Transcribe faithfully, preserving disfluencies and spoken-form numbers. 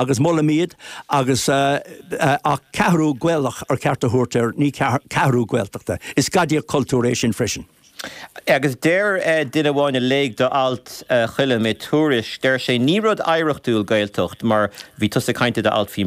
Agus molaim iad agus ach ceathrú Gaelach ar cheart a thabhairt air ní ceathrú Gaeltachta. Is gadaíocht cultúir é sin freisin. Agus deir duine amháin a léigh do alt Choilm i Tuairisc, deir sé ní rud oidhreachtúil Gaeltacht mar bhí tusa ag caint i d'alt faoi